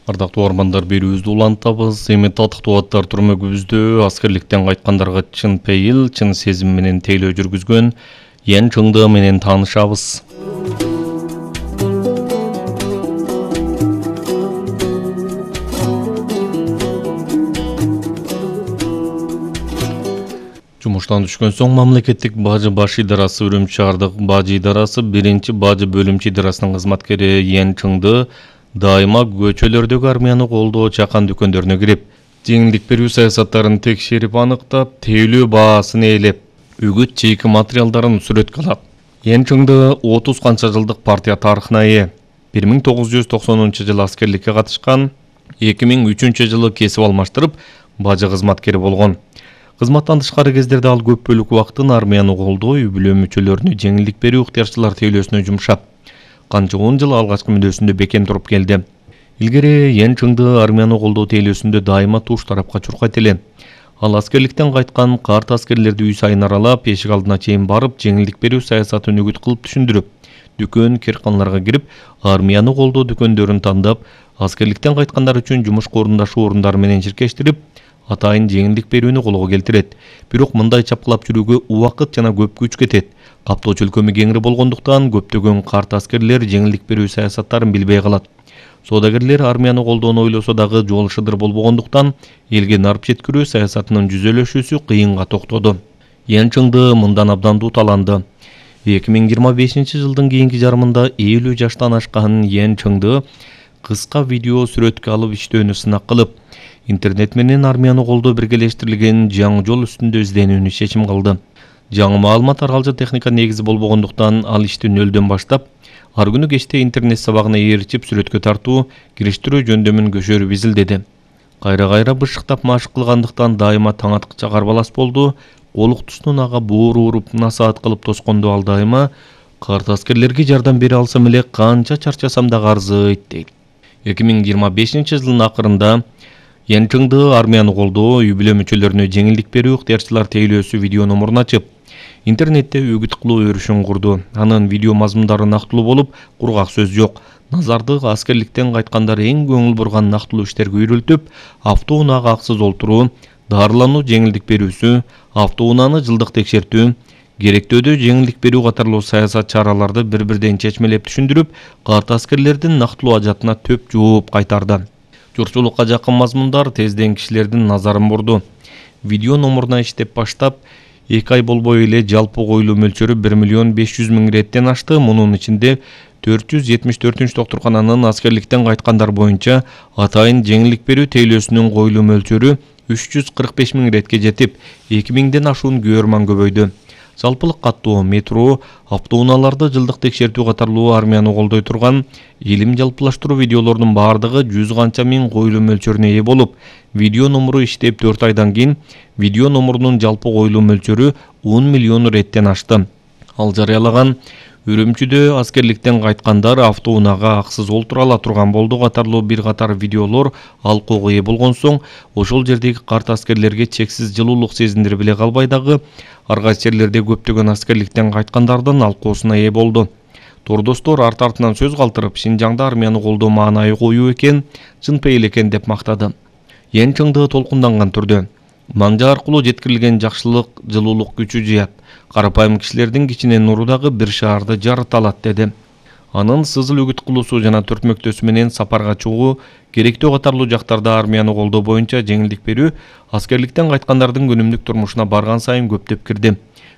Ардактуу угармандар, берүүбүздү улантабыз. Эми татыктуу аттар түрмөгүбүздө аскерликтен кайткандарга чын пейил, чын сезим менен тейлөө жүргүзгөн Ян Чыңды менен таанышабыз. Жумуштан түшкөн соң мамлекеттик бажы баш идарасы Үрүмчү шаардык бажы идарасы биринчи бажы бөлүмчө идарасынын кызматкери Ян Чыңды дайыма көчөлөрдөгү армияны колдоо чакан дүкөндөрүнө кирип, жеңилдик берүү саясаттарын текшерип аныктап, тейлөө баасын ээлеп, үгүт чейки материалдарын сүрөткө алат. Ян Чыңды 30 канча жылдык партия тарыхына ээ. 1990-жылы аскерликке катышкан, 2003 жылы кесип алмаштырып, бажы кызматкери болгон. Кызматтан тышкары кездерде ал көп бөлүк убактын армияны колдоо, үй-бүлө мүчөлөрүнө жеңилдик берүү ыктыярчылар тейлөөсүнө жумшап, канча 10 жыл алгачкы мүнөзүндө бекем туруп келди. Илгери Ян Чыңды армияны колдоо тейлөөсүндө дайыма туш тарапка чуркайт эле. Ал аскерликтен кайткан карт аскерлерди үй сайын аралап, эшик алдына чейин барып, жеңилдик берүү саясатын үгүт кылып түшүндүрүп, дүкөн, кирканаларга кирип, армияны колдоо дүкөндөрүн тандап, аскерликтен кайткандар үчүн жумушка орундашуу орундары менен чиркештирип, атайын жеңилдик берүүнү колго келтирет. Бирок мындай чапкылап жүрүүгө убакыт жана көп күч кетет. Каптоо чөлкөмү кеңири болгондуктан көптөгөн карт аскерлер жеңилдик берүү саясаттарын билбей калат. Соодагерлер армияны колдоону ойлосо дагы жол шыдыр болбогондуктан элге нарп жеткирүү саясатынын жүзөлөшүүсү кыйынга токтоду. Ян Чыңды мындан абдан дуталанды. 2025 жылдын кийинки жарымында 50 жаштан ашкан Ян Чыңды кыска видео сүрөткө алып иштөөнү сынак кылып, интернет менен армияны колдоо биргелештирилген жаңы жол үстүндө изденүүнү чечим кылды. Жаңы маалымат аргалжа техника негизи болбогондуктан ал ишти нөлдөн баштап, ар күнү кечте интернет сабагына ээрчип сүрөткө тартуу, кириштирүү жөндөмүн көшөрүп изилдеди. Кайра-кайра бышыктап машык кылгандыктан дайыма таң аткыча карбалас болду. Колуктусунун ага боору уруп, насаат кылып тоскондо ал дайыма карт аскерлерге жардам бере алсам эле канча чарчасам да арзыйт дейт. 2025 жылдын акырында Ян Чыңды армияны колдоо, үй-бүлө мүчөлөрүнө жеңилдик берүү ыктыярчылар тейлөөсү видео номурун ачып, интернетте үгүт кылуу өрүшүн курду. Анын видео мазмундары нактылуу болуп, кургак сөз жок. Назарды аскерликтен кайткандар эң көңүл бурган нактылуу иштерге үйрөлтүп, автоунаага аксыз олтуруу, дарылануу жеңилдик берүүсү, автоунааны жылдык текшертүү, керектөөдө жеңилдик берүү катарлуу саясат чараларды бир-бирден чечмелеп түшүндүрүп, карт аскерлердин нактылуу ажатына төп жооп кайтарды. Журтчулукка жакын мазмундар тезден кишилердин назарын бурду. Видео номуруна иштеп баштап, 2 ай болбой эле жалпы коюлуу мөлчөрү 1 500 000 реттен ашты. Мунун ичинде 474-доктуркананын аскерликтен кайткандар боюнча атайын жеңилдик берүү тейлөөсүнүн коюлуу мөлчөрү 345 000 ретке жетип, 2000ден ашуун көрман көбөйдү. Жалпылык каттоо, метро, автоунааларды жылдык текшертүү катарлуу армияны колдой турган илим жалпылаштыруу видеолордун бардыгы 100 канча миң коюлуу мөлчөрүнө ээ болуп, видео номуру иштеп 4 айдан кийин видео номурунун жалпы коюлуу мөлчөрү 10 миллион реттен ашты. Ал жарыялаган Үрүмчүдө аскерликтен кайткандар автоунаага аксыз олтура ала турган болду катарлуу бир катар видеолор алкоого ээ болгон соң, ошол жердеги карт аскерлерге чексиз жылуулук сезиндире биле калбай дагы ар кайсы жерлерде көптөгөн аскерликтен кайткандардын алкоосуна ээ болду. Тордостор арт-артынан сөз калтырып, Шинжаңда армияны колдоо маанайы коюу экен, чын пейил экен деп мактады. Ян Чыңды толкунданган түрдө маңжа аркылуу жеткирилген жакшылык жылуулук күчү жыят, карапайым кишилердин кичине нуру дагы бир шаарды жарыта алат деди. Анын сызыл үгүт кылуусу жана төртмөктөсү менен сапарга чыгуу, керектөө катарлуу жактарда армияны колдоо боюнча жеңилдик берүү аскерликтен кайткандардын күнүмдүк турмушуна барган сайын көптөп кирди.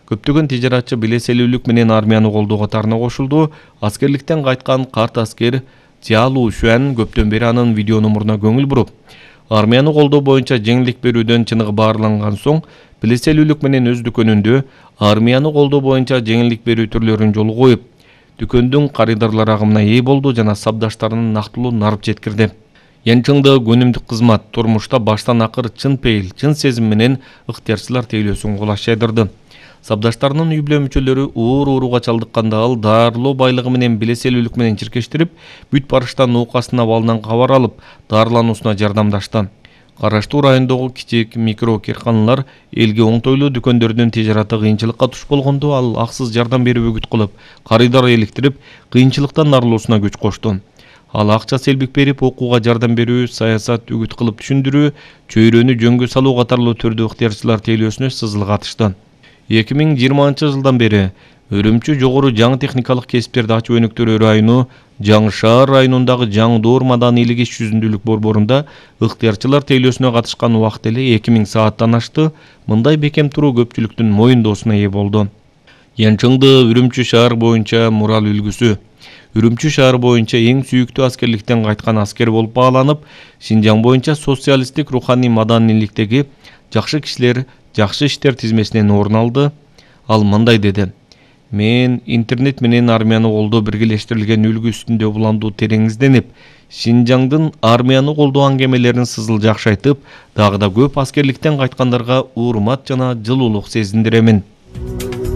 Көптөгөн тижаратчы билеселүүлүк менен армияны колдоо катарына кошулду. Аскерликтен кайткан карт аскер Цялу Шуан көптөн бери анын видео номуруна көңүл буруп, армияны колдоо боюнча жеңилдик берүүдөн чыныгы баарланган соң, билеселүүлүк менен өз дүкөнүндө армияны колдоо боюнча жеңилдик берүү түрлөрүн жолго коюп, дүкөндүн карыдарлар агымына ээ болду жана сабдаштарынын нактылуу нарп жеткирди. Ян Чыңды күнүмдүк кызмат, турмушта баштан акыр чын пейил, чын сезим менен ыктыярчылар тейлөөсүн кулаш жайдырды. Сабдаштарынын үй-бүлө мүчөлөрү ооруга чалдыкканда ал дарылоо байлыгы менен билеселүүлүк менен чиркештирип, бүт барыштан нуукасынын абалынан кабар алып, дарылануусуна жардамдашты. Караштуу райондогу кичик микро кирканалар элге оңтойлуу дүкөндөрдүн тижараты кыйынчылыкка туш болгондо ал аксыз жардам берип үгүт кылып, карыдар эликтирип, кыйынчылыктан арылуусуна күч кошту. Ал акча селбик берип, окууга жардам берүү, саясат үгүт кылып түшүндүрүү, чөйрөнү жөнгө салуу катарлуу түрдүү ыктыярчылар тейлөөсүнө сызыл катышты. 2020 жылдан бери Үрүмчү жогору жаңы техникалык кесиптерди ачуу өнүктүрүү району Жаңы шаар районундагы Жаңдоор маданийлик иш жүзүндүүлүк борборунда ыктыярчылар тейлөөсүнө катышкан убакыт эле 2000 сааттан ашты. Мындай бекем туруу көпчүлүктүн моюндоосуна ээ болду. Янчыңды Үрүмчү шаар боюнча мурал үлгүсү. Үрүмчү шаар боюнча эң сүйүктүү аскерликтен кайткан аскер болуп бааланып, Шинжаң боюнча социалисттик руханий маданийликтеги жакшы кишилер, жакшы иштер тизмесинен орун алды. Ал мындай деди: "Мен интернет менен армияны колдоо биргелештирилген үлгү үстүндө уландуу терең изденип, Шинжаңдын армияны колдоо аңгемелерин сызыл жакшы айтып, дагы да көп аскерликтен кайткандарга урмат жана жылуулук сезиндиремин".